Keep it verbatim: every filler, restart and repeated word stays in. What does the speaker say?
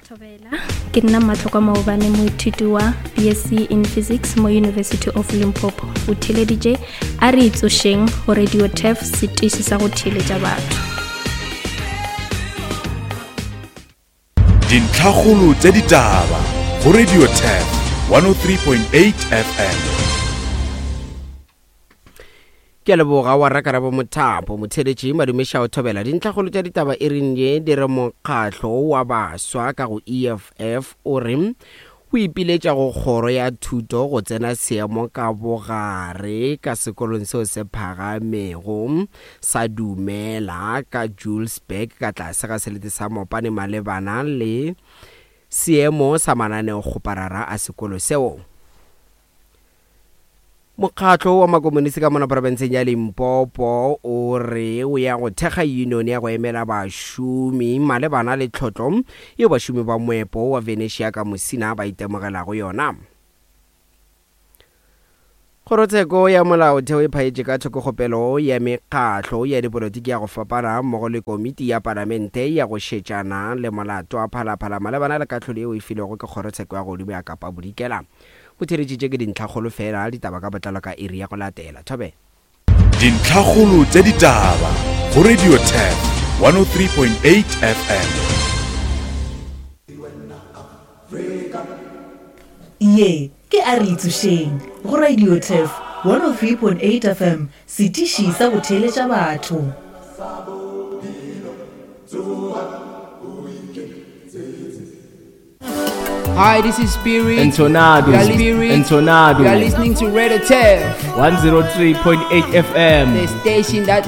Thobela, ke nna Matlhokwa Maobane, moithuti wa BSc in Physics mo University of Limpopo. O theeleditše A Re Itsošeng go Radio Turf, setiši sa go theeletša batho. Dintlhakgolo tša ditaba go Radio Turf one oh three point eight FM. Ke a leboga wa Rakarabo Mothapo. Motheeletši Madume Šao Thobela. Dintlhakgolo tša ditaba e reng ye di re mokgatlo wa baswa ka go E F F o re o ipiletša go kgoro ya thuto go tsena seemo ka bogare ka sekolong seo se phagamego sa Dumela ka Julesburg ka tlase ga selete sa Mopane malebana le seemo sa mananeokgoparara a sekolo seo. Mokgatlo wa makomonisi ka mona profenseng ya Limpopo o re o ya go thekga union ya go emela bašomi malebana le tlhotlo yeo bašomi ba moepo wa Venetia ka Musina ba itemogelago yona. Kgorotsheko ya molaotheo e phaetše ka thoko kgopelo ya mekgatlo ya dipolotiki ya go fapana mmogo le komiti ya palamente ya go šetšana le molato wa Phalaphala malebana le kahlolo yeo e filwego ke kgorotsheko ya godimo ya Kapa Bodikela. Botheeletši tše ke dintlhakgolo fela, ditaba ka botlalo ka iri ya go latela. Thobe. Dintlhakgolo tša ditaba go Radio Turf one oh three point eight F M. Ye ke A Re Itsošeng go Radio Turf one oh three point eight F M, setiši sa go theeletša batho. Hi, this is Spirit. And Tornado. You are Spirit. And Tornado. You are listening to Radio Turf one oh three point eight F M. The station that